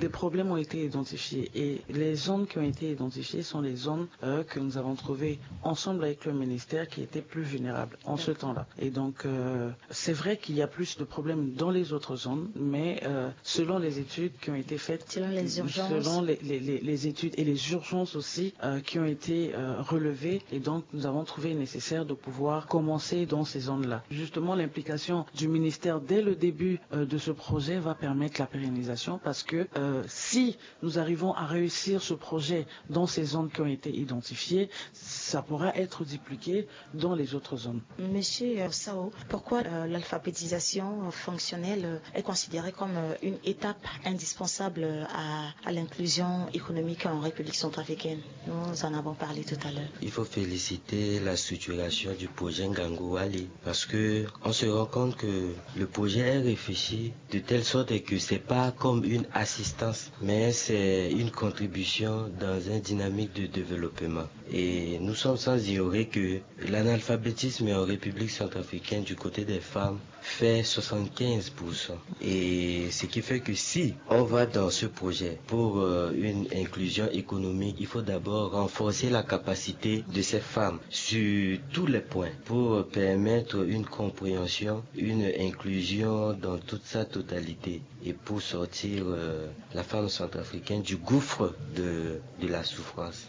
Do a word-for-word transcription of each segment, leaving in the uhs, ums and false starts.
Des problèmes ont été identifiés et les zones qui ont été identifiées sont les zones euh, que nous avons trouvées ensemble avec le ministère qui étaient plus vulnérables en ce temps-là. Et donc, euh, c'est vrai qu'il y a plus de problèmes dans les autres zones, mais euh, selon les études qui ont été faites, Selon les urgences. selon les, les- les- les études et les urgences aussi euh, qui ont été euh, relevées, et donc nous avons trouvé nécessaire de pouvoir commencer dans ces zones-là. Justement, l'implication du ministère dès le début euh, de ce projet va permettre la pérennisation parce que euh, si nous arrivons à réussir ce projet dans ces zones qui ont été identifiées, ça pourra être dupliqué dans les autres zones. Monsieur euh, Sao, pourquoi euh, l'alphabétisation euh, fonctionnelle euh, est considérée comme euh, une étape indispensable euh, à, à l'inclusion économique en République centrafricaine ? Nous en avons parlé tout à l'heure. Il faut féliciter la structuration du projet Ngangu Wali parce que on se rend compte que le projet est réfléchi de telle sorte que c'est pas comme une assistance, mais c'est une contribution dans une dynamique de développement. Et nous sommes sans ignorer que l'analphabétisme en République centrafricaine du côté des femmes fait soixante-quinze pour cent. Et ce qui fait que si on va dans ce projet pour euh, une inclusion économique, il faut d'abord renforcer la capacité de ces femmes sur tous les points pour permettre une compréhension, une inclusion dans toute sa totalité et pour sortir euh, la femme centrafricaine du gouffre de, de la souffrance.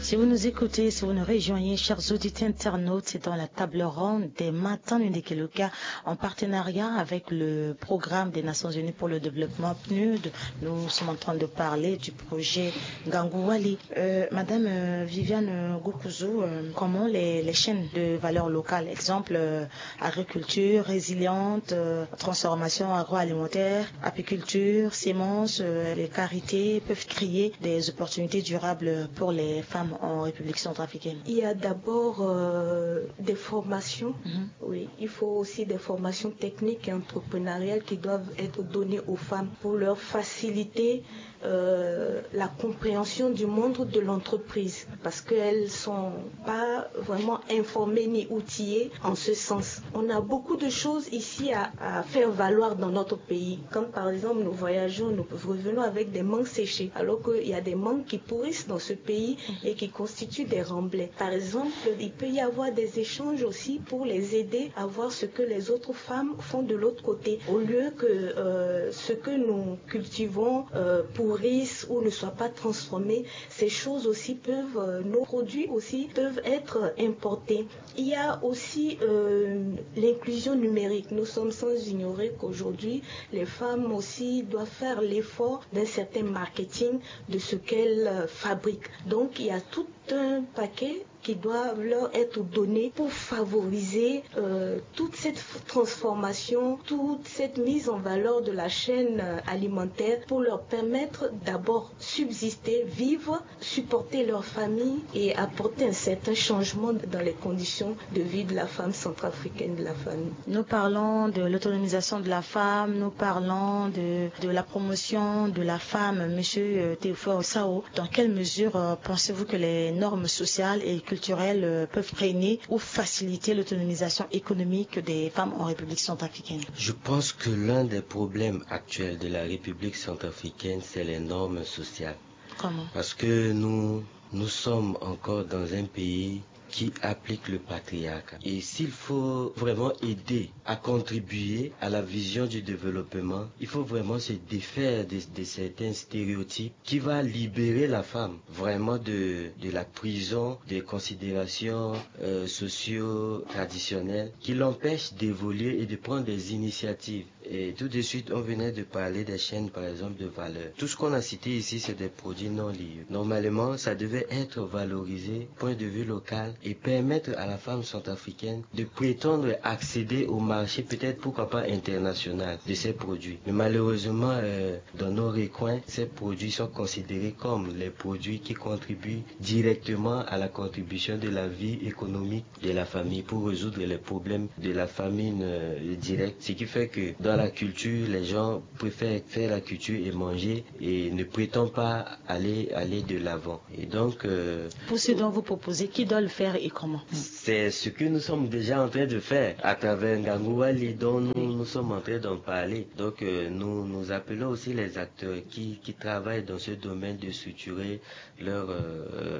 Si vous nous écoutez, si vous nous rejoignez, chers auditeurs internautes, c'est dans la table ronde des Matins Nundekeloka en partenariat avec le programme des Nations Unies pour le développement, PNUD. Nous sommes en train de parler du projet Ngangu Wali. Euh, Madame euh, Viviane Gokuzu, euh, comment les, les chaînes de valeur locale, exemple euh, agriculture résiliente, euh, transformation agroalimentaire, apiculture, semences, euh, les carités peuvent créer des opportunités durables pour les femmes en République centrafricaine ? Il y a d'abord euh, des formations. Mhm. Oui, il faut aussi des formations techniques et entrepreneuriales qui doivent être données aux femmes pour leur faciliter euh, la compréhension du monde de l'entreprise parce qu'elles sont pas vraiment informées ni outillées en ce sens. On a beaucoup de choses ici à, à faire valoir dans notre pays. Quand par exemple nous voyageons, nous revenons avec des mangues séchées, alors qu'il y a des mangues qui pourrissent dans ce pays et qui constituent des remblais. Par exemple, il peut y avoir des échanges aussi pour les aider à voir ce que les autres femmes font de l'autre côté, au lieu que euh, ce que nous cultivons euh, pourrisse ou ne soit pas transformé. Ces choses aussi peuvent, euh, nos produits aussi peuvent être importés. Il y a aussi euh, l'inclusion numérique. Nous sommes sans ignorer qu'aujourd'hui, les femmes aussi doivent faire l'effort d'un certain marketing de ce qu'elles euh, fabriquent. Donc, il y a tout un paquet qui doivent leur être donnés pour favoriser euh, toute cette transformation, toute cette mise en valeur de la chaîne euh, alimentaire pour leur permettre d'abord subsister, vivre, supporter leur famille et apporter un certain changement dans les conditions de vie de la femme centrafricaine, de la famille. Nous parlons de l'autonomisation de la femme, nous parlons de, de la promotion de la femme. Monsieur euh, Théophore Sao, dans quelle mesure euh, pensez-vous que les normes sociales et culturelles euh, peuvent freiner ou faciliter l'autonomisation économique des femmes en République centrafricaine ? Je pense que l'un des problèmes actuels de la République centrafricaine, c'est les normes sociales. Comment ? Parce que nous, nous sommes encore dans un pays qui applique le patriarcat. Et s'il faut vraiment aider à contribuer à la vision du développement, il faut vraiment se défaire de, de certains stéréotypes qui va libérer la femme vraiment de, de la prison des considérations euh, socio-traditionnelles qui l'empêchent d'évoluer et de prendre des initiatives. Et tout de suite, on venait de parler des chaînes, par exemple, de valeur. Tout ce qu'on a cité ici, c'est des produits non liés. Normalement, ça devait être valorisé, point de vue local, et permettre à la femme centrafricaine de prétendre accéder au marché, peut-être pourquoi pas international, de ces produits. Mais malheureusement, euh, dans nos recoins, ces produits sont considérés comme les produits qui contribuent directement à la contribution de la vie économique de la famille pour résoudre les problèmes de la famine euh, directe. Ce qui fait que dans la culture, les gens préfèrent faire la culture et manger et ne prétendent pas aller, aller de l'avant. Et donc, euh, Pour ce dont vous proposez, qui doit le faire et comment ? C'est ce que nous sommes déjà en train de faire à travers Ngangu Wali dont nous, nous sommes en train d'en parler. Donc euh, nous, nous appelons aussi les acteurs qui, qui travaillent dans ce domaine de structurer leur euh,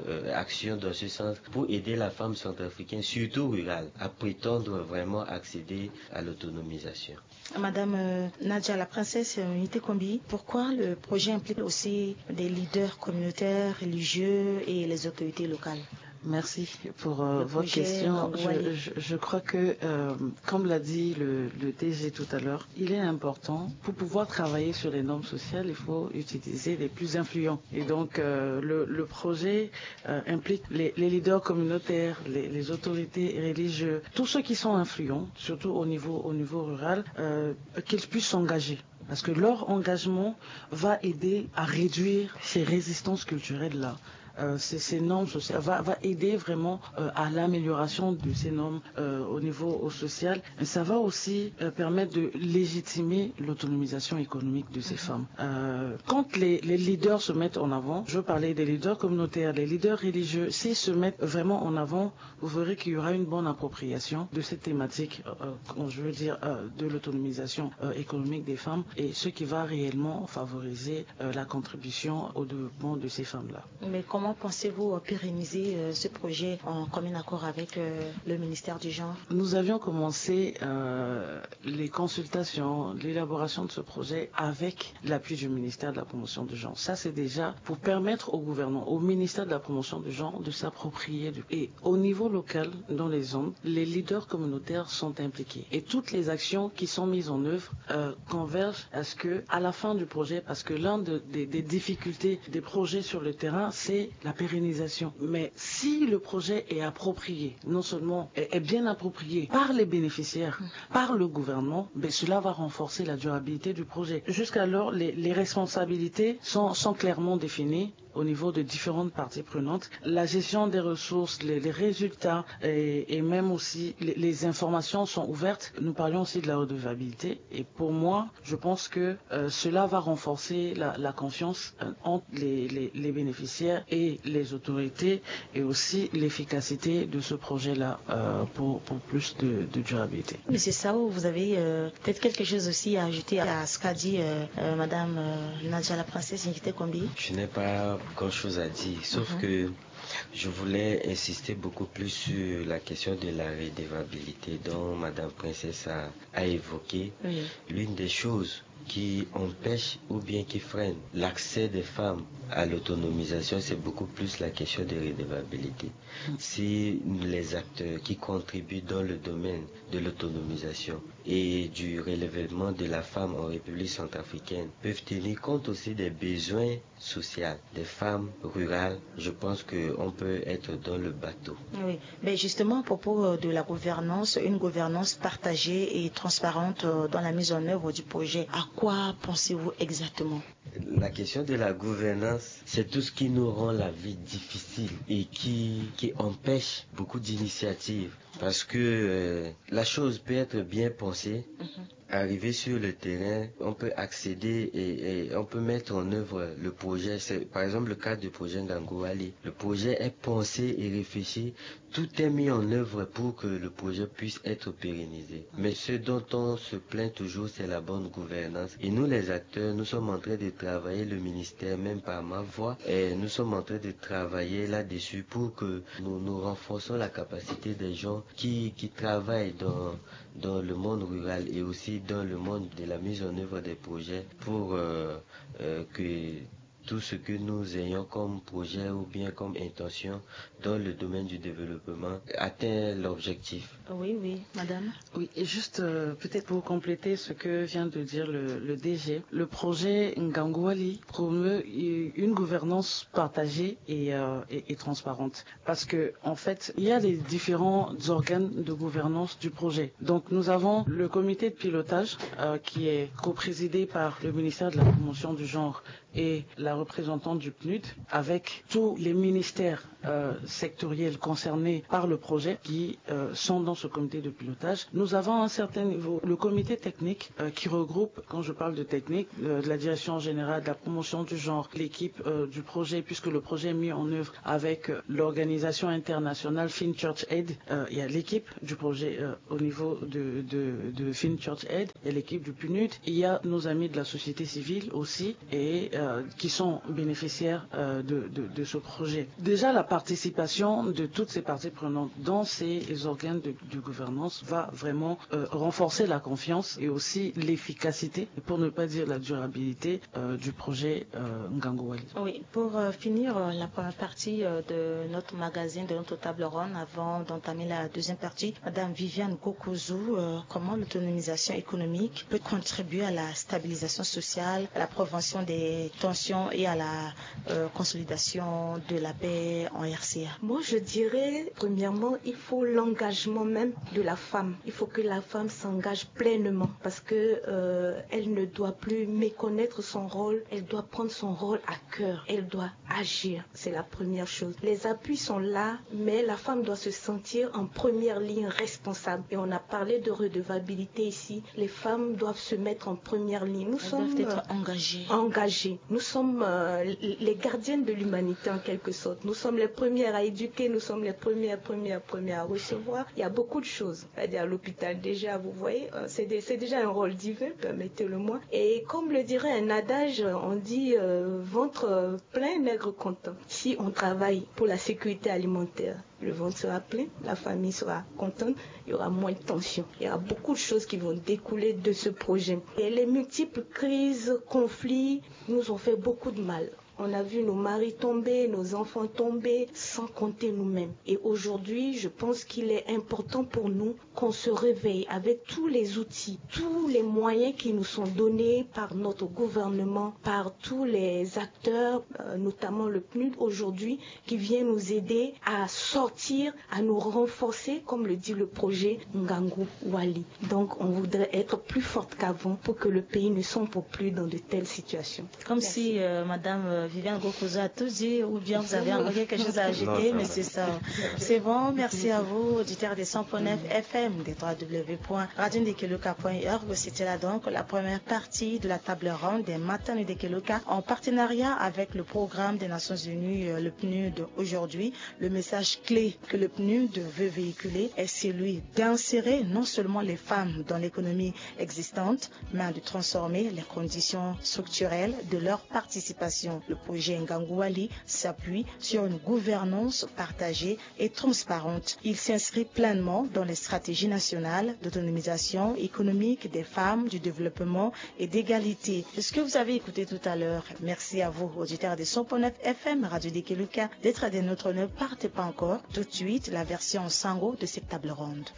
euh, action dans ce sens pour aider la femme centrafricaine, surtout rurale, à prétendre vraiment accéder à l'autonomisation. Madame euh, Nadia, la princesse euh, Nité Kombi, pourquoi le projet implique aussi des leaders communautaires, religieux et les autorités locales ? Merci pour euh, votre question. Je, je, je, crois que, euh, comme l'a dit le, le D G tout à l'heure, il est important, pour pouvoir travailler sur les normes sociales, il faut utiliser les plus influents. Et donc, euh, le, le projet euh, implique les, les leaders communautaires, les, les autorités religieuses, tous ceux qui sont influents, surtout au niveau, au niveau rural, euh, qu'ils puissent s'engager. Parce que leur engagement va aider à réduire ces résistances culturelles-là. Euh, ces, ces normes sociales va, va aider vraiment euh, à l'amélioration de ces normes euh, au niveau au social. Et ça va aussi euh, permettre de légitimer l'autonomisation économique de ces femmes. Euh, quand les, les leaders se mettent en avant, je veux parler des leaders communautaires, les leaders religieux, s'ils se mettent vraiment en avant, vous verrez qu'il y aura une bonne appropriation de cette thématique, euh, euh, je veux dire, euh, de l'autonomisation euh, économique des femmes, et ce qui va réellement favoriser euh, la contribution au développement de ces femmes-là. Mais comment pensez-vous euh, pérenniser euh, ce projet en commun accord avec euh, le ministère du Genre ? Nous avions commencé euh, les consultations, l'élaboration de ce projet avec l'appui du ministère de la Promotion du Genre. Ça, c'est déjà pour permettre au gouvernement, au ministère de la Promotion du Genre, de s'approprier. Du... Et au niveau local, dans les zones, les leaders communautaires sont impliqués. Et toutes les actions qui sont mises en œuvre euh, convergent à ce que, à la fin du projet, parce que l'un de, des, des difficultés des projets sur le terrain, c'est la pérennisation. Mais si le projet est approprié, non seulement est, est bien approprié par les bénéficiaires, par le gouvernement, ben cela va renforcer la durabilité du projet. Jusqu'alors, les, les responsabilités sont, sont clairement définies au niveau de différentes parties prenantes. La gestion des ressources, les, les résultats et, et même aussi les, les informations sont ouvertes. Nous parlions aussi de la redevabilité. Et pour moi, je pense que euh, cela va renforcer la, la confiance euh, entre les, les, les bénéficiaires et les autorités et aussi l'efficacité de ce projet-là euh, pour, pour plus de, de durabilité. Monsieur Sao, vous avez euh, peut-être quelque chose aussi à ajouter à ce qu'a dit euh, euh, Madame euh, Nadia la princesse Nité Kombi ? Je n'ai pas grand-chose à dire, sauf que je voulais insister beaucoup plus sur la question de la redevabilité dont Madame Princesse a, a évoqué. L'une des choses qui empêche ou bien qui freine l'accès des femmes à l'autonomisation, c'est beaucoup plus la question de redevabilité. Si les acteurs qui contribuent dans le domaine de l'autonomisation et du relèvement de la femme en République centrafricaine peuvent tenir compte aussi des besoins sociaux des femmes rurales, je pense qu'on peut être dans le bateau. Oui, mais justement à propos euh, de la gouvernance, une gouvernance partagée et transparente euh, dans la mise en œuvre du projet, à quoi pensez-vous exactement ? La question de la gouvernance, c'est tout ce qui nous rend la vie difficile et qui, qui empêche beaucoup d'initiatives. Parce que euh, la chose peut être bien pensée, arriver sur le terrain, on peut accéder et, et on peut mettre en œuvre le projet. C'est par exemple le cas du projet Ngangu Wali. Le projet est pensé et réfléchi. Tout est mis en œuvre pour que le projet puisse être pérennisé. Mais ce dont on se plaint toujours, c'est la bonne gouvernance. Et nous, les acteurs, nous sommes en train de travailler, le ministère, même par ma voix, et nous sommes en train de travailler là-dessus pour que nous, nous renforçons la capacité des gens qui, qui travaillent dans, dans le monde rural et aussi dans le monde de la mise en œuvre des projets pour euh, euh, que tout ce que nous ayons comme projet ou bien comme intention dans le domaine du développement atteint l'objectif. Oui, oui, madame. Oui, et juste euh, peut-être pour compléter ce que vient de dire le, le D G, le projet Ngangu Wali promeut une gouvernance partagée et, euh, et, et transparente. Parce que, en fait, il y a les différents organes de gouvernance du projet. Donc, nous avons le comité de pilotage euh, qui est co-présidé par le ministère de la Promotion du Genre et la représentante du PNUD avec tous les ministères euh, sectoriels concernés par le projet qui euh, sont dans ce comité de pilotage. Nous avons à un certain niveau le comité technique euh, qui regroupe, quand je parle de technique, euh, de la direction générale de la promotion du genre, l'équipe euh, du projet, puisque le projet est mis en œuvre avec euh, l'organisation internationale Finchurch Aid. Euh, il y a l'équipe du projet euh, au niveau de, de, de Finchurch Aid, il y a l'équipe du PNUD, il y a nos amis de la société civile aussi, et euh, qui sont bénéficiaires euh, de, de, de ce projet. Déjà, la participation de toutes ces parties prenantes dans ces organes de, de gouvernance va vraiment euh, renforcer la confiance et aussi l'efficacité, pour ne pas dire la durabilité euh, du projet euh, Ngangu Wali. Oui, pour euh, finir euh, la première partie euh, de notre magazine, de notre table ronde, avant d'entamer la deuxième partie, Madame Viviane Gokouzou, euh, comment l'autonomisation économique peut contribuer à la stabilisation sociale, à la prévention des tensions et à la euh, consolidation de la paix en R C A? Moi, je dirais, premièrement, il faut l'engagement même de la femme. Il faut que la femme s'engage pleinement parce que euh, elle ne doit plus méconnaître son rôle, elle doit prendre son rôle à cœur, elle doit agir. C'est la première chose. Les appuis sont là, mais la femme doit se sentir en première ligne responsable. Et on a parlé de redevabilité ici. Les femmes doivent se mettre en première ligne. Nous Elles sommes doivent être euh, engagées. Engagées. Nous sommes euh, les gardiennes de l'humanité en quelque sorte. Nous sommes les premières à éduquer, nous sommes les premières, premières, premières à recevoir. Il y a beaucoup de choses. C'est-à-dire à l'hôpital déjà, vous voyez, euh, c'est des- c'est déjà un rôle divin, permettez-le moi. Et comme le dirait un adage, on dit euh, ventre euh, plein, maigre content. Si on travaille pour la sécurité alimentaire, le ventre sera plein, la famille sera contente, il y aura moins de tension. Il y aura beaucoup de choses qui vont découler de ce projet. Et les multiples crises, conflits nous ont fait beaucoup de mal. On a vu nos maris tomber, nos enfants tomber, sans compter nous-mêmes. Et aujourd'hui, je pense qu'il est important pour nous qu'on se réveille avec tous les outils, tous les moyens qui nous sont donnés par notre gouvernement, par tous les acteurs, euh, notamment le PNUD aujourd'hui, qui vient nous aider à sortir, à nous renforcer, comme le dit le projet Ngangu Wali. Donc, on voudrait être plus forte qu'avant pour que le pays ne sombre plus dans de telles situations. Comme si euh, Madame euh, Viviane Gokouzou a tout dit, ou bien vous avez encore quelque chose à ajouter, mais c'est ça. C'est bon, merci à vous, auditeurs des cent point neuf F M, des trois W point radio ndekeluka point org. C'était là donc la première partie de la table ronde des matins de Ndekeluka en partenariat avec le programme des Nations Unies, euh, le PNUD. Aujourd'hui, le message clé que le PNUD veut véhiculer est celui d'insérer non seulement les femmes dans l'économie existante, mais de transformer les conditions structurelles de leur participation. Le projet Ngangu Wali s'appuie sur une gouvernance partagée et transparente. Il s'inscrit pleinement dans les stratégies nationales d'autonomisation économique des femmes, du développement et d'égalité. Ce que vous avez écouté tout à l'heure, merci à vous, auditeurs de cent point neuf F M, Radio Ndekeluka, d'être des nôtres. Ne partez pas encore. Tout de suite, la version sango de cette table ronde.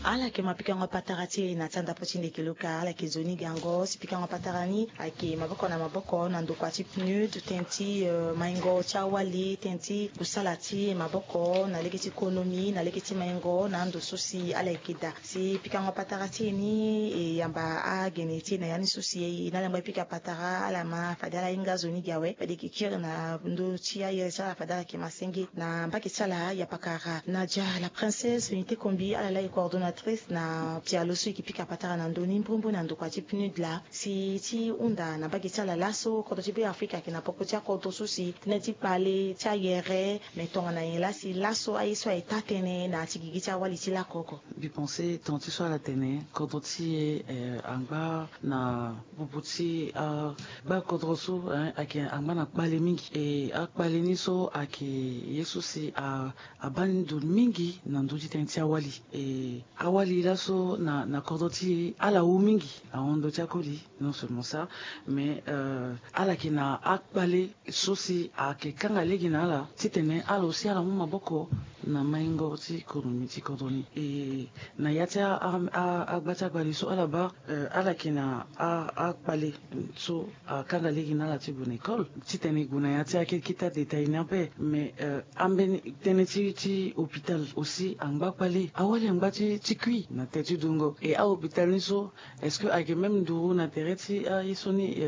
Ala yeke ma pikango patara ti e na ti andapo ti Ndekeluka, ala yeke nzoni gango si pikango patara ni ayeke maboko na maboko na ndokua ti PNUD, tënë ti euh, maingo ti awali, tënë ti kusala ti maboko na lege ti konomi, na lege ti maingo na ando so si ala yeke daa. Si pikango patara ti e ni e yamba agene ti e na ya ni so si e na ala yamba e pika patara, ala ma fade ala hinga zo ni gi awe, fade e yeke kiri na ndö ti aye ti ala fade ala yeke ma senge. Na mbage ti ala ya pakara Nadia la Princesse Unité Kombi, ala laa e coordonnatrice na pialo so e yeke pika patara na ndö ni mbrimbri na ndokua ti PNUD laa. Si ti hunda na mbage ti ala laso, kodro ti Be Afrika ayeke na poko ti akodro so si tënë ti kpale ti ayere, me tongana nyen laa si laso aye so aye taa tënë na ya ti gigi ti awali ti laoko oko? Mbi pense tongana ti so ala tene, kodro ti e eh, angba na bubu ti agba kodro so eh, ayeke angba na kpale mingi. E akpale ni so ayeke ye so si a abaa ni ndo mingi na ndö ti tënë ti awali. E awali laso na, na kodro ti e ala wu mingi ahon ndö ti akoli. Non seulement ça, mais euh, ala yeke na akpale so si ayeke kanga lege na ala titene ala aussi ala mu maboko na maingo ti économie ti kodro ni. E na ya ti agba ti akpale so ala baa, ala yeke na akpale so akanga lege na ala ti gue na école. Titene e gue na ya ti akete kita détail ni ape, mais ambeni tënë ti hôpital aussi angba kpale. Awali angba ti kui na tënë ti dungo, e ahôpital ni so est-ce que ayeke même nduru na tere ti aye so ni?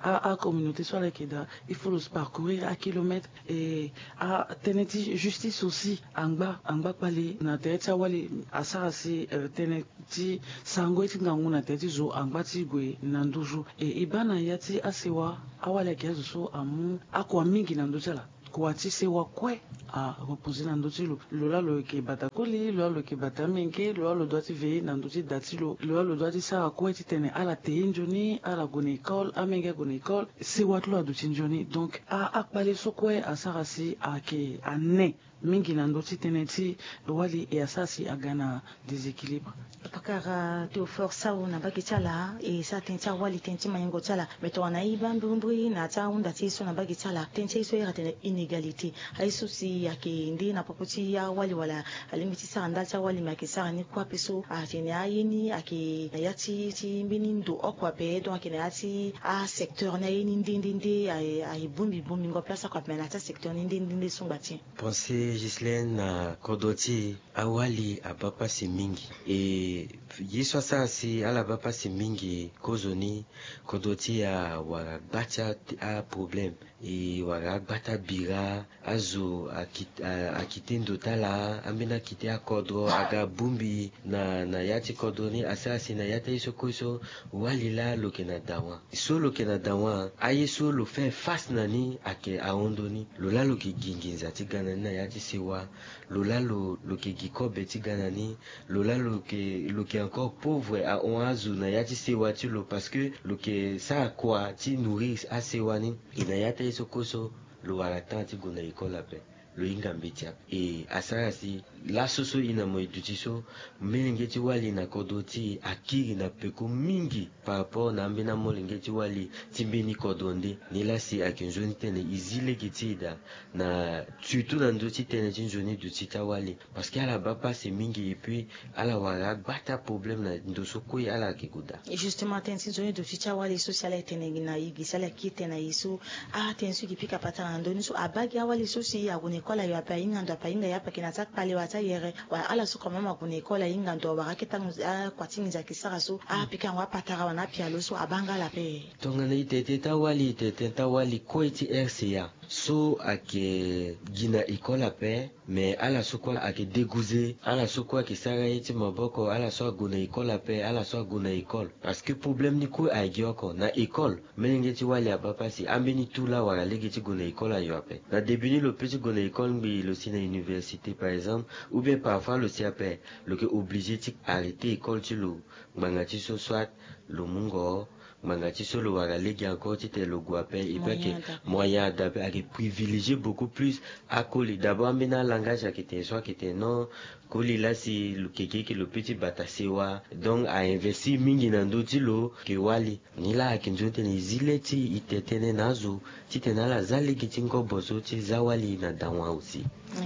Acommunauté so ala yeke daa, il faut lo parcourir akilomètre. E atënë ti justice aussi angba angba kpale na tere ti awali. Asara si tënë ti sarango ye ti ngangu na tere ti zo angba ti gue na nduzu. E e baa na ya ti asewa, awali ayeke azo so amu akua mingi na ndö ti ala. Kua ti sewa kue areposer na ndö ti lo. Lo laa lo yeke bata koli, lo laa lo yeke bata amenge, lo laa lo doit ti veiller na ndö ti da ti lo, lo laa lo doit ti sara kue titene ala te ye nzoni, ala gue na école, amenge ague na école, sewa ti lo aduti nzoni. Donc akpale so kue asara si ayeke ane mingi na ndö ti tënë ti wali, e asara si aga na déséquilibre. Pakara Théophore Saw na mbage ti ala, e sara tënë ti awali, tënë ti maingo ti ala. Me tongana e baa mbrimbri na ya ti ahunda ti e so na mbage ti ala, tënë ti aye so e iri atene inégalité. Aye so si ayeke nde na popo ti awali wala alingbi ti sara ndali ti awali, me ayeke sara ni kue ape so atene aye ni ayeke na ya ti ti mbeni ndo oko ape. Donc ayeke na ya ti asecteur ni aye ni nde nde nde aye bongbi bongbingo place oko ape, me na ya ti asecteur ni nde nde nde so ngba ti e. Pensée Gislaine, na kodro ti e awali abaa pasi mingi. E ye so asara si ala baa pasi mingi kozoni, kodro ti e awara gba ti aproblème. E wara agba ti abira, azo akite ndo ti ala, ambeni akite akodro aga bongbi na na ya ti kodro ni. Asara si na ya ti aye so kue so wali laa lo yeke na dawa. So lo yeke na dawa, aye so lo fait face na ni ayeke ahon ndoni. Lo laa lo yeke gi nginza ti ga na ni na ya ti sewa. Lo laa lo lo yeke gi kobe ti ga na ni. Lo laa lo yeke lo yeke encore pauvre ahon azo na ya ti sewa ti lo, parce que lo yeke sara kua ti nourrir asewa ni. E na ya ti aye so kue so lo wara temps ti gue na école ape. Lo hinga mbeti ape. E asara si laso so e na mo e duti so, molenge ti wali na kodro ti e akiri na peko mingi par rapport na ambeni amolenge ti wali ti mbeni kodro nde. Nilaa si ayeke nzoni tene e zi lege ti e daa na surtout na ndö ti tënë ti nzoni duti ti awali. Parce que ala baa pasi mingi et puis ala wara agba ti aproblème na ndo so kue ala yeke gue daa. Justement tënë ti nzoni duti ti awali so si ala tene na e gi si ala kiri tene na e so, atënë so e gi pika patara na ndö ni so abaa gi awali so si ague na école ayo ape, ahinga ndo ape, ahinga ye ape, ayeke na ya ti akpale wala ti ayere, wala ala so quand même ague na école ahinga ndo, awara akete akua ti nginza ayeke sara so apika yango apatara wala na apialo so abaa nga ala ape. Tongana e tene tënë ti awali, e tene tënë ti awali kue ti R C A so ayeke gi na école ape. Mais ala so kue ayeke dégoûté, ala so kue ayeke sara ye ti maboko, ala so ague na école ape, ala so ague na école. Parce que problème ni kue ayeke gi oko na école. Molenge ti wali abaa pasi, ambeni tout laa awara lege ti gue na école ayo ape. Na début ni lo peut ti gue na école ngbii, lo si na université par exemple, ou bien parfois lo si ape, lo yeke obligé ti arrêter école ti lo. Ngbanga ti so soit lo mungo, ngbanga ti so lo wara lege encore titene lo gue ape. Et puis ayeke moyen ada ape, ayeke privilégier beaucoup plus akoli. D'abord ambeni alangage ayeke tene so ayeke tene non, koli laa si lo yeke ge eke lo peut ti bata sewa. Donc a investir mingi na ndö ti lo. Yeke wali. Nilaa ayeke nzoni tene e zi le ti e tene tënë na azo titene ala za lege ti ngobo so ti za wali na dawa aussi.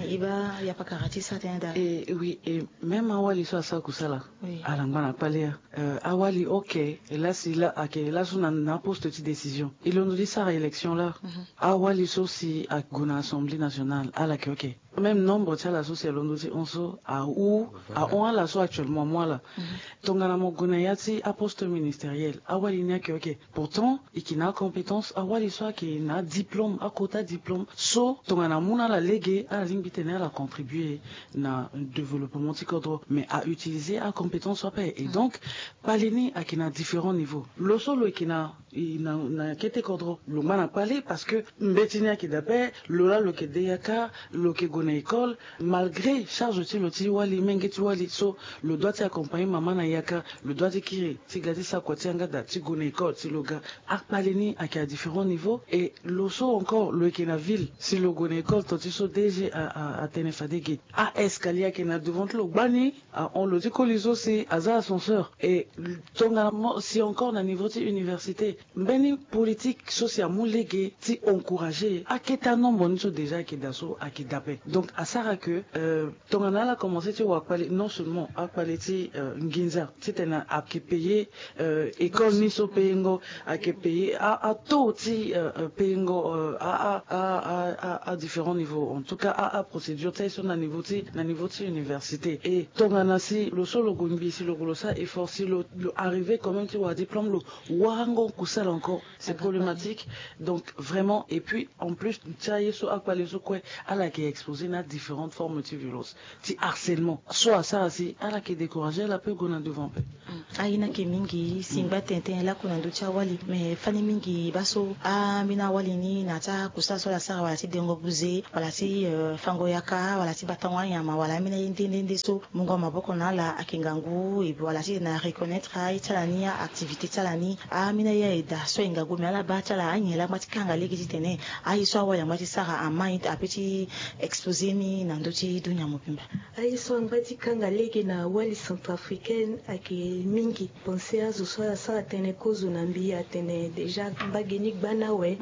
E baa ya pakara ti sa tënë daa. E oui, e même awali so asara kusala, ala ngba na kpale ya. Awali ok. E laa si laa ayeke laso na aposte ti décision, e londo ti sara élection laa. Awali so si ague na assemblée nationale, ala yeke ok. Même nombre ti ala so si alondo ti hon so ahon, ahon ala so actuellement amu ala. Tongana mo gue na ya ti aposte ministériel, awali ni ayeke ok. Pourtant e yeke na acompétence. Awali so ayeke na adiplôme, akota diplôme so tongana amu na ala lege, ala lingbi titene ala contribuer na développement ti kodro, mais a utiliser acompétence so ape. Et donc kpale ni ayeke na différents niveaux. Lo so lo yeke na na kete kodro, lo ngba na kpale parce que mbeti ni ayeke daa ape. Lo laa lo yeke de yaka, lo yeke gue na école. Malgré charge ti lo ti wali, menge ti wali so, lo doit ti accompagner mama na yaka, lo doit ti kiri ti ga ti sara kua ti yanga daa ti gue na école ti lo ga. Akpale ni ayeke à différents niveaux. Et lo so encore lo yeke na ville, si lo gue na école, to ti so D G atene fade ge, a escalier ayeke na devant ti lo gbani. Ahon lo ti koli so si aza ascenseur. Et tongana mo si encore na niveau ti université, mbeni politique so si amu lege ti encourager akete anombre ni so déjà ayeke daa so ayeke daa ape. Donc asara ke tongana ala commence ti wa kpale, non seulement akpale ti nginza titene ayeke payer école ni so payengo, ayeke payer ataux ti payengo à différents niveaux, en tout cas aprocédure ti aye so na niveau ti na niveau ti université. Et tongana si lo so lo gue ngbii si lo gue lo sara effort si lo arriver quand même ti wa diplôme, lo warango kusala encore, c'est problématique. Donc vraiment, et puis en plus ti aye so akpale so kue, ala yeke exposer na différentes formes ti violence, ti harcèlement so asara si ala yeke décourager, ala peut gue na devant pe. Aye ni ayeke mingi si ngba tene tene laku na ndö ti awali, mais fani mingi baa so ambeni awali ni na ya ti akusala so ala sara, wala ti dengo buze, wala ti fango yaka, wala ti batango anyama, wala ambeni aye nde nde nde so mungo maboko na ala ayeke ngangu, wala ti na reconnaître aye ti ala ni, aactivité ti ala ni. Ambeni aye ayeda so aye ngangu, mais ala baa ti ala anyen laa ngba ti kanga lege titene aye so awali angba ti sara ama ape ti exposer ni na ndö ti dunia mobimba. Aye so angba ti kanga lege na wali centrafricaine ayeke mingi. Pensé azo so ala sara tënë kozo na mbi atene déjà mbage ni gba ni awe.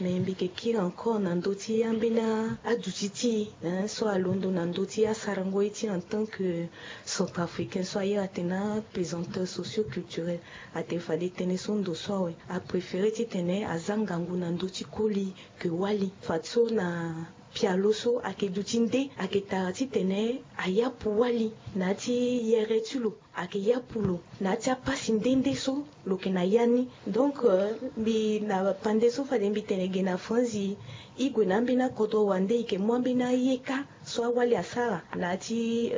Mais mbi yeke kiri encore na ndö ti ambeni aduti ti e so alondo na ndö ti asarango ye ti en tant que centrafricain so a iri atene apesanteur socio-culturel. Atene fade tënë so ndo so awe, apréféré titene aza ngangu na ndö ti koli ke wali. Fadeso na pialo so ayeke duti nde ayeke tara titene ayapu wali na ya ti yere ti lo, ayeke yapu lo na ya ti apasi nde nde so lo yeke na ya ni. Donc mbi na pande so fade mbi tene ge na franzi, e gue na ambeni akodro wande e yeke mu ambeni aye kâ so awali asara na ya ti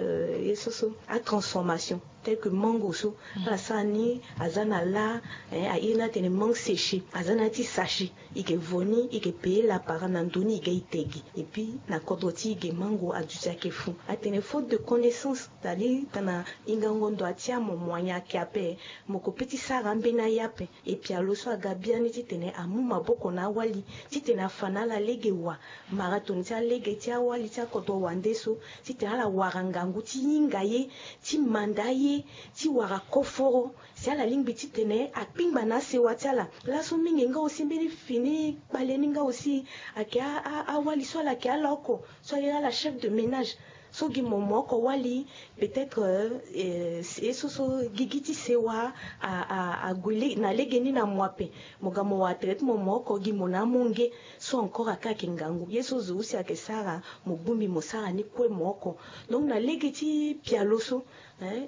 ye so so atransformation. Tel que mango so ala sara ni, aza na lâ, a iri ni atene mangue séché, aza na ya ti sachet. E yeke vo ni, e yeke payer lapara na ndo ni, e ga e te ge. Et puis na kodro ti e ge mango aduti ayeke fou. Atene faute de connaissance, c'est-à-dire tana hingango ndo atia mo mo anya ayeke ape, mo ko pe ti sara ambeni aye ape. E pialo so aga biani titene amu maboko na awali titene afa na ala lege wa mara toni ti alege ti awali ti akodro wande so, titene ala wara ngangu ti hinga ye, ti manda ye, ti wara koforo. Si ala lingbi titene akpingba na asewa ti ala. Laso mingi nga aussi mbeni fini kpale ni nga aussi ayeke awali so ala yeke ala oko so a iri ala chef de ménage. So gi mo mo oko wali, peut-être ye so so gigi ti sewa ague na lege ni na mo ape. Mo ga mo wara tere ti mo mo oko gi mo na amonge. So encore aka ayeke ngangu ye so zo aussi ayeke sara, mo bongbi mo sara ni kue mo oko. Donc na lege ti pialo so,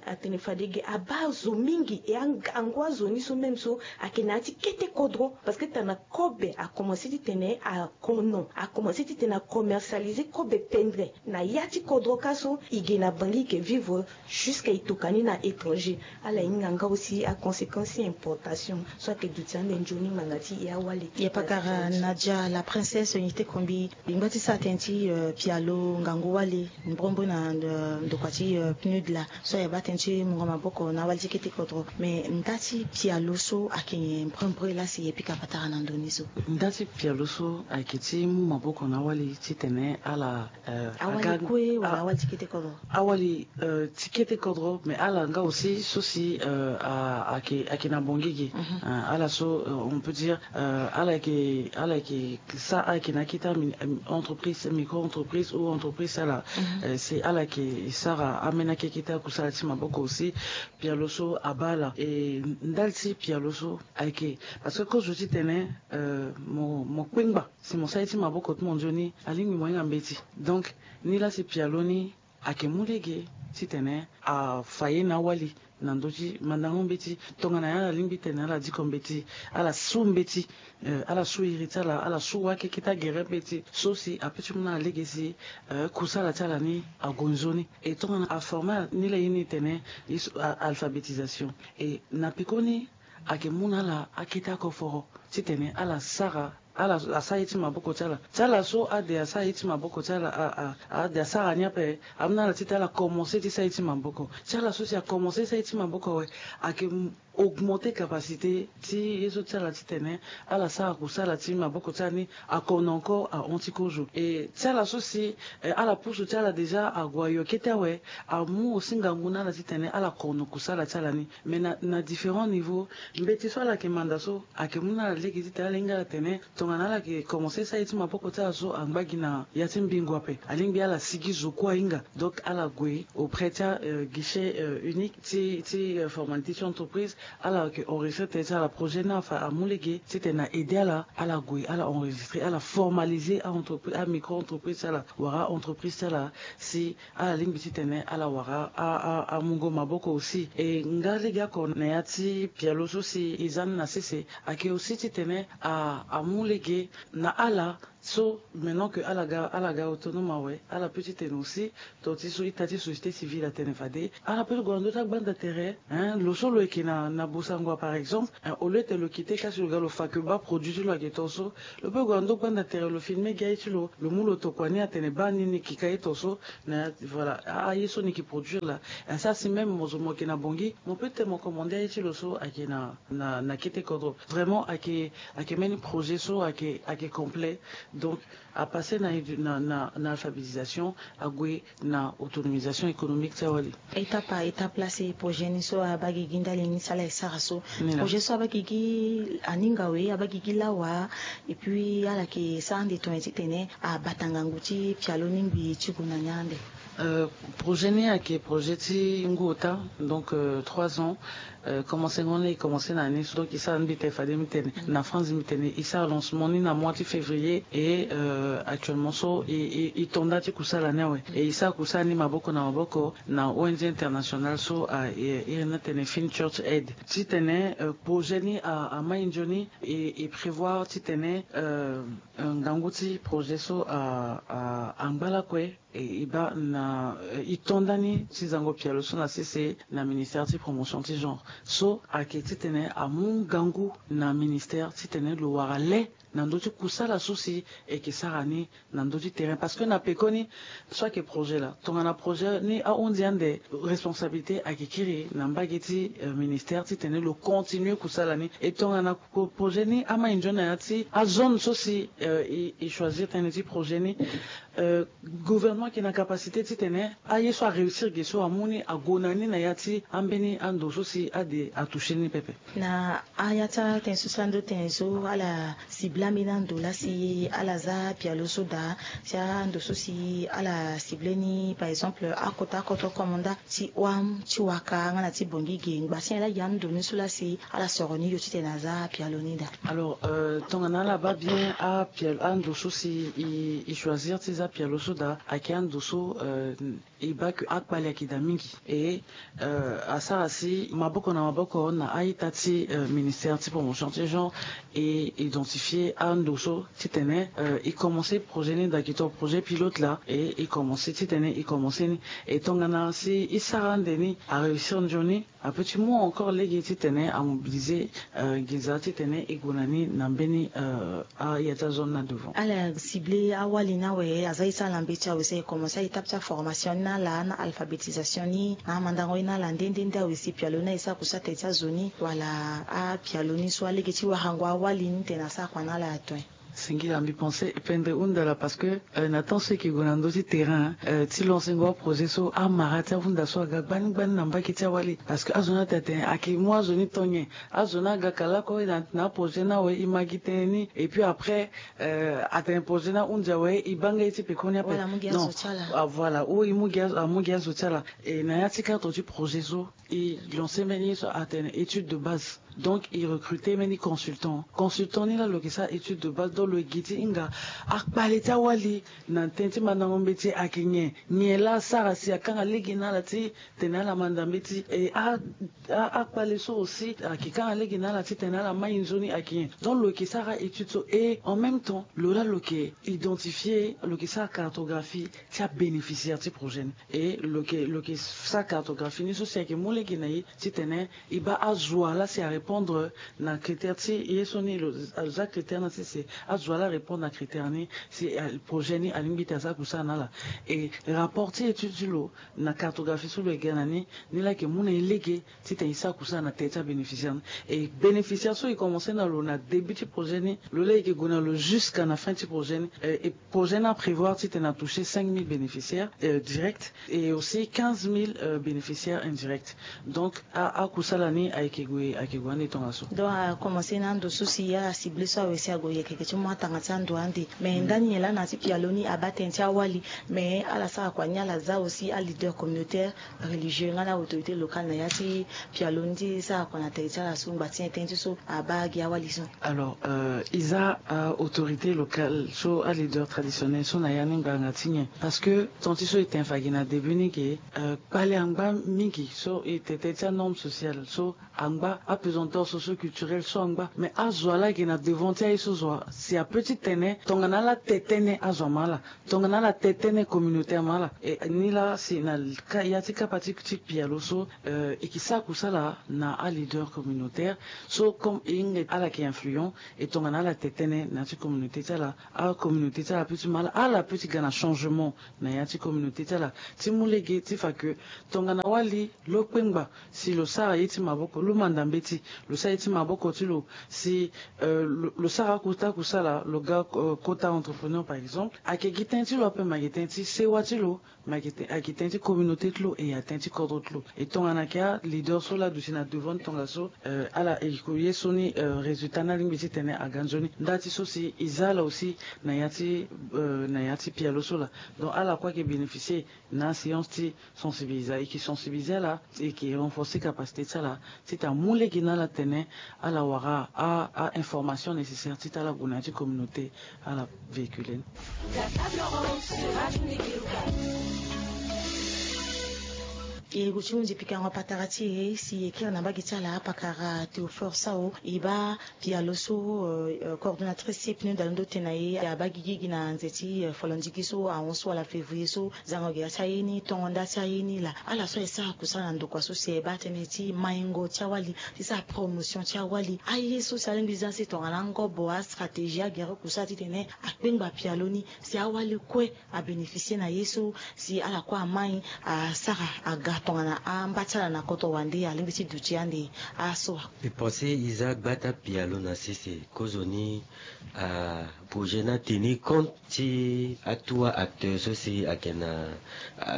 atene fade ge abaa zo mingi, e angangu azo ni so même so ayeke na ya ti kete kodro. Parce que tana kobe akomense titene akono, akomense titene acommercialiser kobe pendre na ya ti kodro kâ so e ge na bangi e yeke vivre jusqu'à e tokua ni na étranger. Ala hinga nga aussi aconséquence ti importation so ayeke duti ande nzoni ngbanga ti e awali. E pakara Nadia la princesse Unité Kombi. E ngba ti sara tënë ti pialo ngangu wali mbrombre na ndokua ti PNUD laa so e baa tënë ti mungo maboko na awali ti kete kodro. Mais nda ti pialo so ayeke nyen mbrombre laa si e pika patara na ndö ni so? Nda ti pialo so ayeke ti mu maboko na awali titene ala awali kue wala awali ti kete kodro? Awali ti kete kodro, mais ala nga aussi so si ayeke na bongi ge. Ala so on peut dire ala yeke ala yeke sa ayeke na akete entreprise, micro entreprise ou entreprise ala. Si ala yeke sara ambeni akekete akusala ti maboko aussi. Pialo so abaa ala e ndali ti pialo so ayeke parce que kozo titene mo kpengba si mo sara ye ti maboko ti mo nzoni alingbi mo hinga mbeti. Donc ni laa si pialo ni ayeke mu lege titene afa ye na awali na ndö ti mandango mbeti. Tongana nyen ala lingbi tene ala diko mbeti, ala su mbeti, ala su iri ti ala, ala su wâ keke ti agere mbeti so si ape ti mu na ala lege si kusala ti ala ni ague nzoni. E tongana aforme ala ni laa ye ni tene ye so alphabétisation. E na pekoni ayeke mu na ala akete akoforo titene ala sara ala asara ye ti maboko ti ala. Ti ala so ade asara ye ti maboko ti ala, ade asara ni ape, amu na ala titene ala komanse ti sara ye ti maboko. Ti ala so si akomanse sara ye ti maboko awe, ayeke augmenter capacité ti ye so ti ala titene ala sara kusala ti maboko ti ala ni akono encore ahon ti kozo. E ti ala so si eh, ala pusu ti ala déjà ague ayo kete awe, amu aussi ngangu na ala titene ala kono kusala ti ala ni. Mais na, na différents niveaux, mbeti so ala yeke manda so ayeke mu na ala lege titene ala hinga ala tene tongana ala yeke commencer sara ye ti maboko ti ala so angba gi na ya ti mbingo ape, alingbi ala sigi zo kue ahinga. Donc ala gue auprès ti a euh, guichet euh, unique ti, ti euh, formalité ti entreprise, ala yeke enregistrer tënë ti ala projet ni afa amu lege titene na aider ala, ala gue ala enregistrer, ala formaliser a entreprise, a micro entreprise ti ala wala a entreprise ti ala, si ala lingbi titene ala wara a, a, amungo maboko aussi. E nga lege oko na ya ti pialo so si e za ni na sese ayeke aussi titene a, amu lege na ala so maintenant que ala ga, ala ga autonome awe, ala peut titene aussi, to ti so ita ti société civile atene fade ala peut ti gue na ndö ti agbanda tere, hein, lo so lo yeke na, na bosango par exemple, hein, au lieu tene lo quitté kasi lo ga lo fa que baa produit ti lo ayeke to so, lo peut gue na ndö gbanda tere lo filmer gi aye ti lo, lo mu lo tokua ni atene baa ni ni yeke ka ye to so, na, voilà, a, aye so ni yeke produire laa. Hein, ça si même mo zo mo yeke na Bangui, mo peut titene mo commander aye ti lo so ayeke na, na, na kete kodro. Vraiment ayeke, ayeke mbeni projet so ayeke, ayeke complet. Donc apasser na, na, na, na alphabétisation, ague na autonomisation économique ti awali. Étape par étape laa si projet ni so abaa gigi ndali ni si ala ye sara so. Projet so abaa gigi aninga we, abaa gigi lawa, et puis ala yeke sara ande tongana titene abata ngangu ti pialo ni ngbii ti gue na ni ande. Euh, projet ni ayeke projet ti ngu ota, donc euh, trois ans. Euh, commencé ngo ni e commencé na ni so, donc e sara ni mbi tene fade mbi tene na France mbi tene e sara lancement ni na mois ti février. Et euh, actuellement so e, e, e to nda ti kusala ni awe, e e sara kusala ni maboko na maboko na O N G internationale so a, e, iri ni atene Fin Church Aid. Titene euh, projet ni a, amai nzoni, e, e prévoir titene euh, euh, ngangu ti projet so a, a, angba lakue. E, e baa na, e, e to nda ni ti zango pialo so na sese na ministère ti promotion ti genre. So ayeke titene amu ngangu na ministère titene lo wara le na ndö ti kusala so si e yeke sara ni na ndö ti terrain. Parce que na pekoni so ayeke projet laa, tongana projet ni ahunzi ande, responsabilité ayeke kiri na mbage ti euh, ministère titene lo continuer kusala ni. E tongana ko projet ni amai nzoni na ya ti azone so si euh, e, e choisir tënë ti projet ni, euh, gouvernement ayeke na capacité titene aye so aréussir ge so amu ni ague na ni na ya ti ambeni ando so si ade atoucher ni pepe. Na aya ti atënë so si ando tënë so ala cible ambeni ando laa si ala za pialo so daa, si ando so si ala cible ni par exemple akota akoto komanda ti wam ti waka nga na ti bongi ge ngba si ala gi ando ni so laa si ala soro ni yo titene aza pialo ni daa. Alors euh, tongana ala baa bien apialo ando so si e, e choisir ti za pialo so daa ayeke ando so euh, e baa ke akpale ayeke daa mingi. E euh, asara si maboko na maboko na a-ita ti euh, ministère ti promotion ti genre e identifier ando so titene euh, e commencer projet ni daa gi to projet pilote laa e e commencer titene e commencer ni. E tongana si e sara ande ni aréussir nzoni, apeut ti mu encore lege titene amobiliser euh, nginza titene e gue na ni na mbeni euh, aya ti azone ni na devant. Ala cible awali ni awe, aza ye ti ala mbeti awe si e commencer a-étape ti aformation ni na ala na alphabétisation ni na amandango ye na ala nde nde nde awe si pialo ni aye sara kusala tënë ti azo ni wala apialo ni so alege ti warango awali ni tene asara kua na ala ato. Singila mbi pense pendre hunda laa parce que euh, na temps so e yeke gue na ndö ti terrain euh, ti lancengo aprojet so amara ti ahunda so aga gbani gbani na mbage ti awali. Parce que azo ni atene atene ayeke mu azo ni to nyen. Azo ni aga kala oko na, na aprojet ni awe e ma gi tënë ni et puis après euh, atene projet ni ahunzi awe e baa nga ye ti pekoni ape. Wala amu gi azo ti ala. Ah, voilà, ou e mu gi azo, amu gi azo ti ala. E na ya ti cadre ti projet so e lancer mbeni ye so atene étude de base. Donc e recruter mbeni consultant. Consultant ni laa lo yeke sara étude de base, donc lo yeke gi ti hinga akpale ti awali na tënë ti mandango mbeti ayeke nyen, nyen laa asara si akanga lege na ala ti tene ala manda mbeti. E a, a, akpale so aussi ayeke kanga lege na ala ti tene ala mai nzoni ayeke nyen. Donc lo yeke sara étude so et en même temps lo laa lo yeke identifier, lo yeke sara cartographie ti abénéficiaire ti projet ni. E lo yeke, lo yeke sara cartographie ni so si ayeke mu lege na e titene e baa azo wa laa si a Répondre na critère ti ye so ni lo za critère na sese azo ala répondre na critère ni si projet ni alingbi ti aza kusa na ala. Et rapport ti étude ti lo na cartographie so lo yeke ga na ni ni la yeke mu na e lege titene e sa kusa na tere ti abénéficiaire ni. Et bénéficiaire so e commencer na lo na début ti projet ni lo la yeke gue na lo jusqu'à na fin ti projet ni. Et projet ni aprévoir titene atoucher cinq mille bénéficiaires directs et aussi quinze mille bénéficiaires indirects. Donc akusala ni ayeke gue ayeke gue ande tongaso. Donc akomense na ando so si ala cible so awe si ague yeke yeke ti mu atanga ti ando ande. Mais ndani nyen laa na ya ti pialo ni abaa tënë ti awali? Mais ala sara kua ni ala za aussi aleader communautaire, religieux nga na autorité locale na ya ti pialo ni ti sara kua na tere ti ala so ngba ti nyen tënë ti so abaa gi awali so? Alors e za autorité locale so aleader traditionnel so na ya ni ngbanga ti nyen? Parce que tant ti so e tene fa gi na début ni ke kpale angba mingi so e tene tënë ti anorme sociale so angba apesanteur socio culturel so angba. Mais azo ala yeke na devant ti aye so zo wa si apeut ti tene tongana ala te tënë azo ama ala tongana ala te tënë communautaire ama ala. Ni la si na ya ti kapa ti pialo so e ke sa kusala na aleader communautaire so comme e hinga ala yeke influent. E tongana ala te tënë na ya ti communauté ti ala acommunauté ti ala apeut ti ma ala ala apeut ti ga na changement na ya ti communauté ti ala ti mu lege ti fa ke tongana wali lo kpengba si lo sara ye ti maboko lo manda mbeti lo sara ye ti maboko ti lo si lo sara akota kusala lo ga kota entrepreneur par exemple ayeke gi tënë ti lo ape ma ayeke tënë ti sewa ti lo ma ayeke tënë ti communauté ti lo e atënë ti kodro ti lo. E tongana ayeke aleader so laa aduti na devant ni tongaso ala e ko ye so ni résultat ni alingbi titene aga nzoni nda ti so si e za ala aussi na ya ti na ya ti pialo so laa. Donc ala kue ayeke bénéficier na aséance ti sensibiliser e ke sensibiliser ala e ke renforcer capacité ti ala titene amu lege na ala tene ala wara a information nécessaire titene ala gue na ya ti communauté ala véhiculer ni. E gue ti hunzi pikango patara ti e si e kiri na mbage ti ala apakara Théophore Sao e baa pialo so coordonnatrice ti e pneu dalondo tene na e abaa gigi gi na nze ti folondigi so ahon so wala février so. Zango ge ya ti aye ni tongo nda ti aye ni laa ala so aye sara kusala na ndokua so si aye baa tënë ti maingo ti awali ti sara promotion ti awali aye so si alingbi za si tongana angobo astratégie agere kusala titene akpengba pialo ni si awali kue abénéficier na ye so si ala kue amai asara aga tongana amba ti ala na koto wande alingbi ti duti ande. Aso wa e pense e za gbata pialo na sese kozoni projet ni ateni compte ti atout acteur so si ayeke na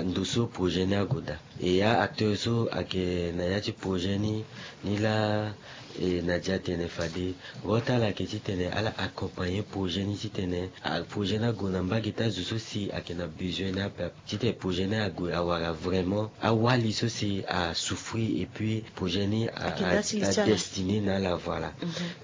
ndo so projet ni ague daa. E ya acteur so ayeke na ya ti projet ni ni laa e na dia tene fade ro ti ala ayeke titene ala accompagner projet ni titene projet ni ague na mbage ti azo so si ayeke na besoin ni ape ape titene projet ni ague awara vraiment awali so si asouffrir et puis projet ni adestiné na ala. Voilà.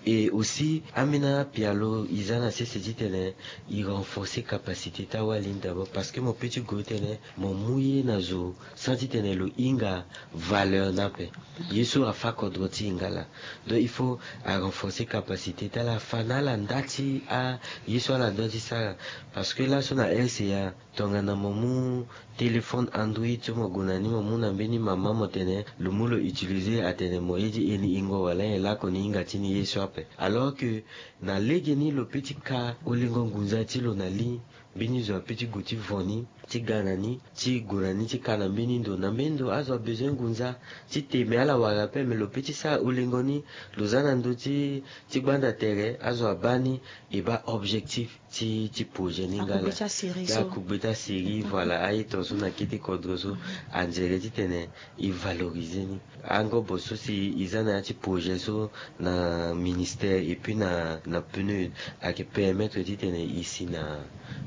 Et aussi ambeni apialo e za na sese titene e renforcer capacité ti awali ni d'abord parce que mo peut ti gue titene mo mu ye na zo sans titene lo hinga valeur ni ape. Ye so afa kodro ti e nga laa. Donc il faut arenforcer capacité ti ala afa na ala nda ti aye so ala dua ti sara. Parce que laso na rca tongana mo mu téléphone android so mo gue na ni mo mu na mbeni mama mo tene lo mu lo utiliser atene mo ye ti e ni ingo wala nyen lakue ni hinga ti ni ye so ape. Alors que na legeni lo peut ti ka olengo ngunza ti lo na li. Mbeni zo apeut ti gue ti vo ni ti ga na ni ti gue na ni ti ka na mbeni ndo na mbeni ndo azo abezoin ngunza ti te me ala wara ape me lo peut ti sara olengo ni. Lo za na ndö ti ti gbanda tere azo abaa ni. E baa objectif ti ti projet ni nga laa. Akugbe ti asérie so. Akugbe ti asérie voilà aye tongaso na kete kodro so. Anzere titene e valoriser ni. Angobo so si e za na ya ti projet so na ministère et puis na na pneu ayeke permettre titene e si na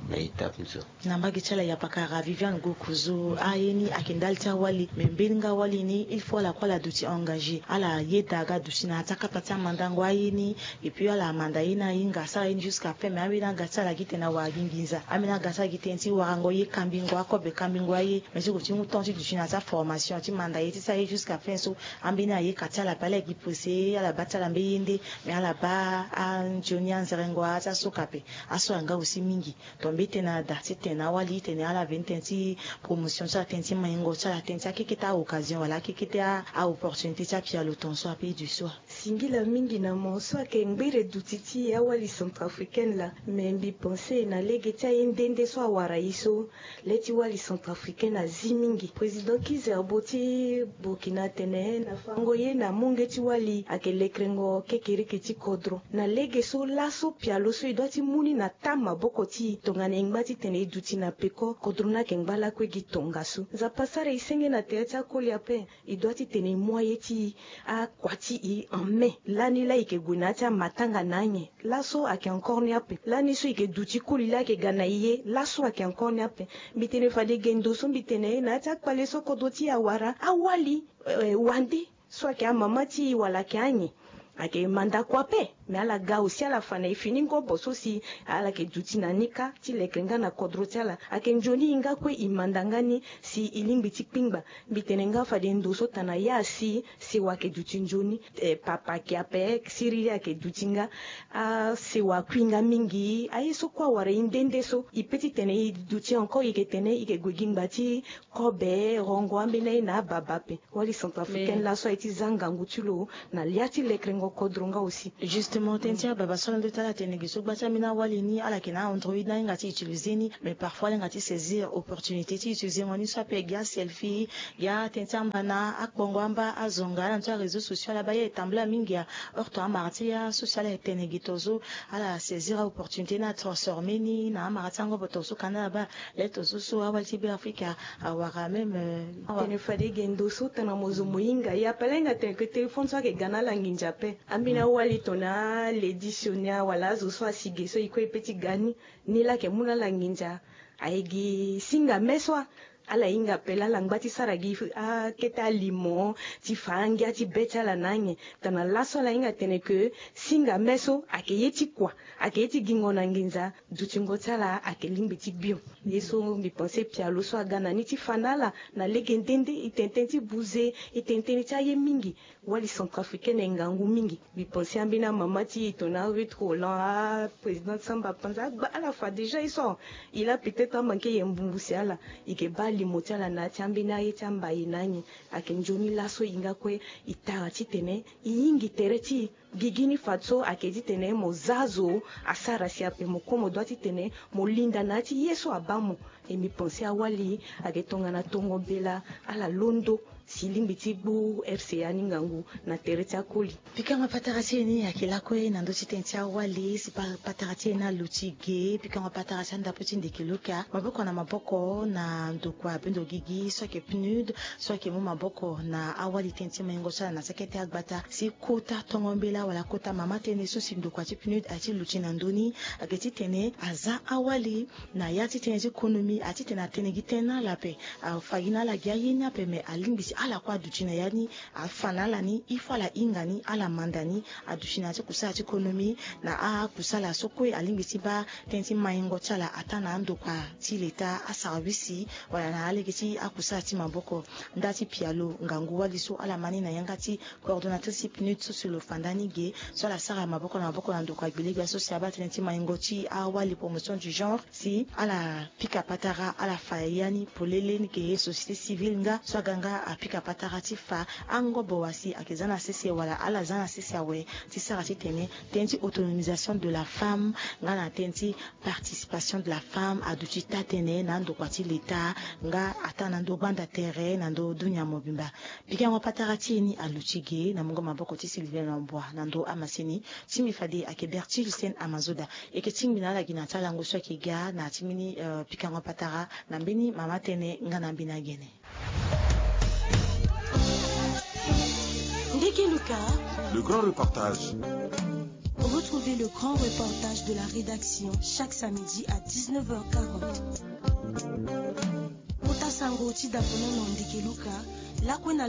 na étape ni so. Na mbage ti ala yapakara Viviane Gokuzo aye ni ayeke ndali ti awali me mbeni nga awali ni il faut ala kue ala duti engagé ala yeda aga duti na ya ti akapa ti amandango aye ni. Et puis ala manda ye ni ahinga asara ye ni jusqu'à fin me ambeni aga Ti ala gi tene awara gi nginza. Ambeni aga ti ala gi tënë ti warango ye, kambingo akobe, kambingo aye. Mais ti gue ti mu temps ti duti na ti aformation ti manda ye ti sara ye jusqu'à fin so. Ambeni aye ka ti ala pe, ala gi pose, ala baa ti ala mbeni ye nde. Mais ala baa anzoni anzerengo ti asoka ape. Aso anga aussi mingi. Donc mbi tene na da ti tene na awali tene ala veni tënë ti promotion ti ala, tënë ti maingo ti ala, tënë ti akekete a-occasion wala akekete a-opportunité ti apialo tongaso ape du soir. Singila mingi na mo so ayeke ngbere duti ti awali centrafricaine laa. Me mbi pense na lege ti aye nde nde so awara ye so, le ti wali centrafricaine azi mingi. Président Kizerbo ti Burkina atene na fango ye na munge ti wali ayeke lekerengo kekereke ti kodro. Na lege so laso pialo so e dua ti mu ni na taa maboko ti e tongana e ngba titene e duti na peko, kodro ni ayeke ngba lakue gi tongaso. Nzapa asara e senge na tere ti akoli ape. E dua titene e mu aye ti e, akua ti e en main. Lani laa e yeke gue na ya ti amatanga na anyen. Laso ayeke encore ni ape. Lani so e yeke duti koli laa ayeke ga na e ye, laso ayeke encore ni ape. Mbi tene fade ge ndo so mbi tene na ya ti akpale so kodro ti e awara, awali, eh, wande so ayeke amama ti e wala ayeke anyen. Ayeke manda kua ape. Me ala ga aussi ala fa na e fini ngobo so si ala yeke duti na ni kâ ti leke nga na kodro ti ala. Ayeke nzoni e nga kue e manda nga ni si e lingbi ti kpingba. Mbi tene nga fade ndo so tana ya si sewa ayeke duti nzoni, eh, papa ayeke ape, siriri ayeke duti nga. Asewa akui nga mingi. Aye so kue awara e nde nde so e pe titene e duti encore, e yeke tene e yeke gue gi ngba ti kobe, rongo ambeni aye na ababa ape. Wali centrafricaine laso aye ti za ngangu ti lo na lia ti lekerengo kodro nga aussi. Justement tënë ti ababa so ala ndo ti ala tene gi so gba ti ambeni awali ni ala yeke na android ni ahinga ti utiliser ni. Mais parfois ala hinga ti saisir opportunité ti utiliser mo ni so ape gi aselfie, gi atënë ti amba na akpongo amba azonga ala na ti aréseau social aba ye e tambula mingi. Aheurte amara ti asocial ala e tene gi tongaso. Ala saisir aopportunité ni atransformer ni na amara ti angobo tongaso ka na ala baa. Leto so so awali ti Beafrika awara même, euh, awa. Tene fade ge ndo so tana mo zo mo hinga ye ape, ala hinga tene ke téléphone so ayeke ga na ala nginza ape. Ambeni awali tongana aledi sioni wala azo so asi ge so e kue e pe ti ga ni. Ni laa ayeke mu na ala nginza. Aye gi singa me so ala hinga ape laa ala ngba ti sara gi akete alimo ti fa angia ti be ti ala na anyen. Tana laso ala hinga tene ke singa me so ayeke ye ti kua, ayeke ye ti gingo na nginza. Dutingo ti ala ayeke lingbi ti bio. Ye so mbi pense pialo so aga na ni ti fa na ala na lege nde nde. E tene tënë ti buze, e tene tënë ti aye mingi. Wali centrafricaine aye ngangu mingi. Mbi pense ambeni amama ti e tongana Ruth Roland, aprésidente Samba Panza agba ala fa déjà ye so. E laa peut-être amanke ye mbumbu si ala. E yeke baa limo ti ala na ya ti ambeni aye ti amba e na anyen. Ayeke nzoni laso e nga kue e tara titene e hingi tere ti e. Gigi ni fadeso ayeke titene mo za zo asara si ape, mo kue mo dua titene mo linda na ya ti ye so abaa mo. E mbi pense awali ayeke tongana tongo mbela ala londo si e lingbi ti gbu R C A ni ngangu na tere ti akoli. Pikango patara ti e ni ayeke lakue na ndö ti tënë ti awali si pa patara ti e ni aluti ge. Pikango patara ti andapo ti Ndeke Luka, maboko na maboko na ndokua bendo gigi so ayeke PNUD, so ayeke mu maboko na awali tënë ti maingo ti ala na ti akete agbata si kota tongo mbela wala kota mama tënë so si ndokua ti PNUD aye ti luti na ndö ni. Ayeke titene aza awali na ya ti tënë ti konomi, aye titene atene gi tënë na ala ape, afa gi na ala gi aye ni ape, me alingbi si ala kue aduti na ya ni. Afa na ala ni, il faut ala hinga ni, ala manda ni. Aduti na ya ti kusala ti konomi na akusala so kue alingbi ti baa tënë ti maingo ti ala ataa na andokua ti leta, asarabisi wala na alege ti akusala ti maboko. Nda ti pialo ngangu wali so ala ma ni na yanga ti coordonnatrice ti PNUD so si lo fa nda ni ge, so ala sara maboko na maboko na ndokua gbelegba so si abaa tënë ti maingo ti awali, promotion du genre, si ala pika patara, ala fa ya ni polele ni ge, société civile nga so aga nga apika patara ti fa angobo wa si ayeke za na sese wala ala za na sese awe, ti sara titene tënë ti autonomisation de la femme nga na tënë ti participation de la femme aduti taa-tënë na andokua ti leta nga ataa na ndö gbanda tere na ndö dunia mobimba. Pikango patara ti e ni aluti ge na mungo maboko ti Sylvain Lambois na ndö amasini. Ti mbi fade ayeke Bertil Sen Amazoda. E yeke tingbi na ala gi na ti alango so ayeke ga na ti mbeni, euh, pikango patara na mbeni mama tënë nga na mbeni agene. Ndeke Luka. Le grand reportage. Retrouvez le grand reportage de la rédaction chaque samedi à dix-neuf heures quarante. Kota sango ti daponono Ndeke Luka, lakue na